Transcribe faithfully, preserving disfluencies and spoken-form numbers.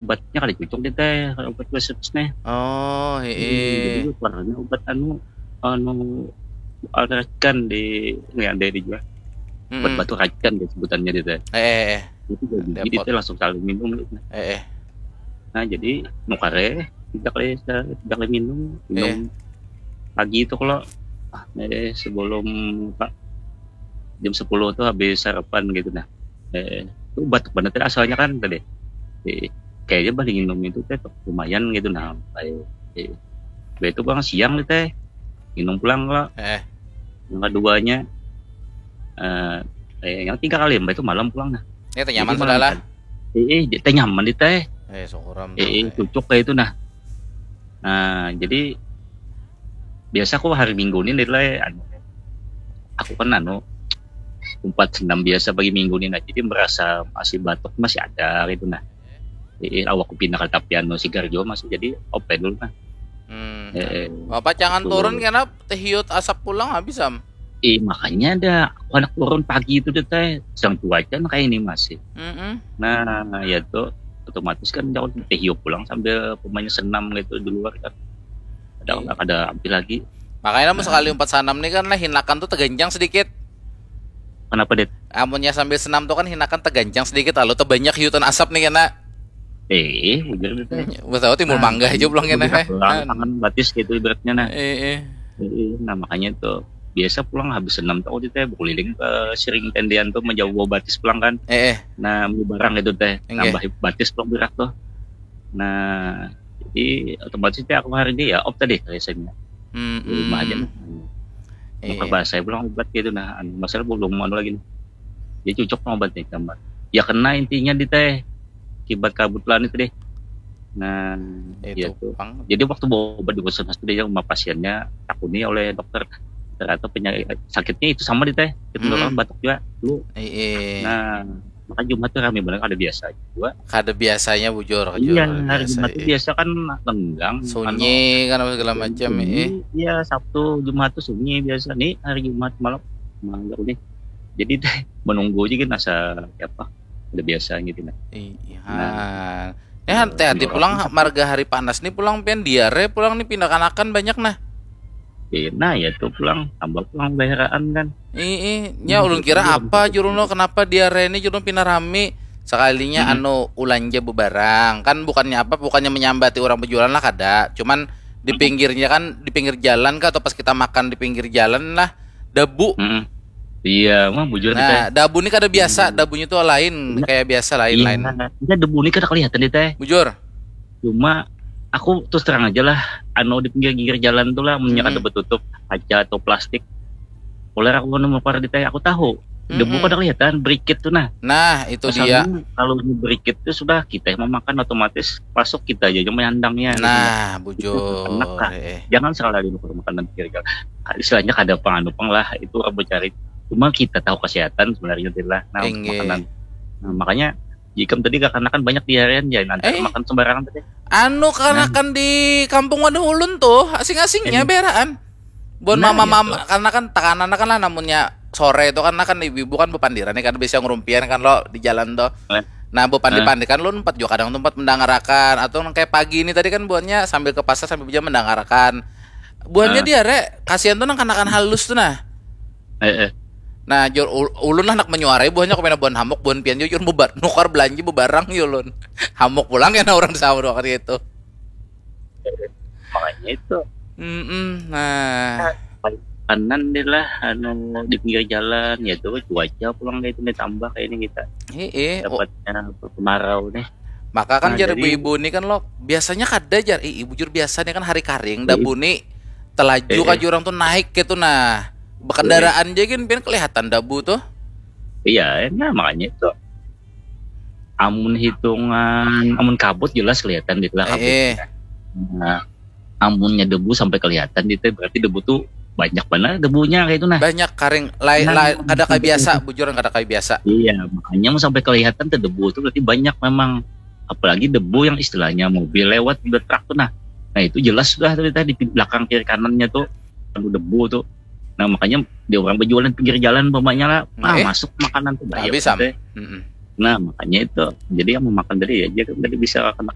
Obatnya kada cocok deh teh, obat resep nih. Oh, Jadi heeh. Warnanya obat anu anu racikan di, ya, ada dijual. Obat Mm-mm. Batuk racikan deh sebutannya deh teh. Eh, eh, Itu jadi Depot. Itu langsung saling minum gitu. Eh, eh. Nah, jadi nukar eh tidak boleh tidak boleh minum. Minum Eh. Pagi itu kalau ah, eh, sebelum Pak jam sepuluh tuh habis sarapan gitu nah. Eh, itu batuk banget ya asalnya kan tadi. Eh, kayaknya balik minum itu teh lumayan gitu nah. Kayak eh, itu bang siang nih teh minum pulang kalau Eh, yang keduanya eh, eh, yang tiga kali mbak itu malam pulang nah. ini teh nyaman Jadi sudah lah. malam kan. Eh, eh, teh nyaman di teh. Eh, syukuran Eh, eh, tuh. cocok kayak itu nah. Nah, jadi biasa aku hari Minggu ini nilai anu aku kan anu empat senam biasa bagi Minggu ini nah. Jadi merasa masih batuk masih ada gitu nah. Eh, awakku pindah ke tapi anu sigar juga masih jadi open dulu nah. Hmm. Eh, eh. Bapak jangan Betul. Turun karena teh hiut asap pulang habis am. Eh, makanya ada aku anak turun pagi itu deh teh sedang cuaca nah kayak ini masih. Mm-mm. Nah, ya tuh otomatis kan jauh teh hiup pulang sambil pemainnya senam gitu di luar kan. Ada Iya. ada ambil lagi. Makanya namun Nah. Sekali empat sanam nih kan lah hinakan tuh teganjang sedikit. Kenapa deh? Amunnya sambil senam tuh kan hinakan teganjang sedikit lalu terbanyak hiutan asap nih kena. Eh, bujur deh teh. Betul timbul Nah, mangga aja pulang kena Udah eh. pulang tangan batis gitu ibaratnya nah. Eh, eh. Eh, nah makanya tuh biasa pulang habis senam tuh di teh berkeliling ke siring tendian tuh menjauh bawa batis pulang kan. Eh, eh. Nah, beli barang gitu teh. Enggak. Nambah batis pulang berak tuh. Nah, jadi otomatis teh aku hari ini ya op tadi biasanya. Hmm, Di rumah aja hmm. nah. Iya. Bakal bahasa belum obat gitu nah. Anu, masalah belum anu lagi nih. Jadi cocok sama obat nih gambar. Ya kena intinya di teh akibat kebetulan itu deh. Nah, Itu ya tuh. Pang. Jadi waktu bawa obat di puskesmas itu dia sama pasiennya takuni oleh dokter ternyata penyakit sakitnya itu sama di teh. Itu Hmm. orang batuk juga dulu. Iya. Nah, maka Jumat tuh rame banget ada biasa juga. Kada biasanya bujur, Iya, jujur, hari biasa, Jumat tuh iya. biasa kan lengang. Sunyi kan apa segala macam, Sunyi, iya. Iya, Sabtu, Jumat tuh sunyi biasa. Nih hari Jumat malam malam nih. Jadi teh menunggu aja kan asa apa? Udah biasa gitu nah. Iya. Nah, Ya hati-hati iya, pulang iya. Marga hari panas nih pulang pian diare pulang nih pindah kanakan banyak nah. Eh, nah ya tuh pulang tambah pulang baheraan kan. Ih, ih, nya ulun kira apa jurung lo kenapa diare ini jurung pina rami sekalinya Hmm. Anu ulanja bebarang kan bukannya apa bukannya menyambati orang berjualan lah kada cuman di Hmm. pinggirnya kan di pinggir jalan kah atau pas kita makan di pinggir jalan lah debu. Mm-mm. Iya, mah bujur Nah, kita. Debu ini kada biasa, Hmm. Debunya tuh lain, Iya. Kayak biasa Iya, lain-lain. Kita debu ini kada kelihatan deh teh. Bujur. Cuma aku terus terang aja lah, anu di pinggir-pinggir jalan tuh lah, punya Hmm. kada betutup kaca atau plastik. Ular aku nemu par di teh, aku tahu. Debu Mm-mm. kada kelihatan, berikit tuh nah. Nah, itu Masalahnya dia. Kalau ini berikit tuh sudah kita yang memakan otomatis masuk kita aja yang menyandangnya. Gitu. Nah, Itu bujur. enak lah. Eh, eh. Jangan salah lagi makan makanan pinggir jalan. Istilahnya kada pang anu pang lah, itu orang mencari. Cuma kita tahu kesehatan sebenarnya lah. Nah, Inggih. Makanan. Nah, makanya jika tadi kakanakan banyak diarean ya nanti Eh. Makan sembarangan tadi. Anu kanakan di kampung wadah ulun tuh, asing-asingnya Eh. beraan. Buat Nah, mama-mama gitu. Karena kan takanan kan lah namunnya sore itu kan kan ibu-ibu kan bepandiran nih kan biasa ngerumpian kan lo di jalan tuh. Eh. Nah, bepandiran kan lo empat juga kadang tuh empat mendangarakan atau nang kayak pagi ini tadi kan buatnya sambil ke pasar sambil bisa mendangarakan. Buahnya Eh. diare, kasihan tuh nang kanakan halus tuh nah. Eh, eh. Nah, jur ul- ulun lah nak menyuarai buahnya kemana buah hamuk buah pian jur bebar nukar belanja bebarang ya ulun. Hamuk pulang kena orang sama dua kali itu. Makanya itu Mm-mm, nah, kanan deh lah anu di pinggir jalan ya tuh cuaca pulang kayak itu nih tambah kayak ini kita heeh. Oh, dapatnya kemarau nih. Maka kan Nah, jar jadi ibu-ibu ni kan lo biasanya kada jar, ih bujur biasanya kan hari karing Iya. Debu ni telaju Iya. Kaju orang tuh naik gitu nah. Bekendaraan aja gin pian kelihatan Debu tuh. Iya, nah makanya itu amun hitungan amun kabut jelas kelihatan gitu lah kabut. Eh, Nah, amunnya debu sampai kelihatan gitu berarti debu tuh banyak banget debunya kayak itu nah. Banyak karing lain Nah, lain kada kayak sampai biasa, kelihatan. Bujuran kada kayak biasa. Iya, makanya mau sampai kelihatan tuh debu tuh berarti banyak memang. Apalagi debu yang istilahnya mobil lewat udah truk tuh nah. Nah, itu jelas sudah tuh tadi di belakang kiri kanannya tuh anu debu tuh. Nah, makanya dia orang berjualan pinggir jalan umpamanya lah, ah, Eh. Masuk makanan tuh banyak Habis, Sam. teh. Mm-mm. Nah, makanya itu. Jadi yang memakan tadi ya, jadi tadi bisa kena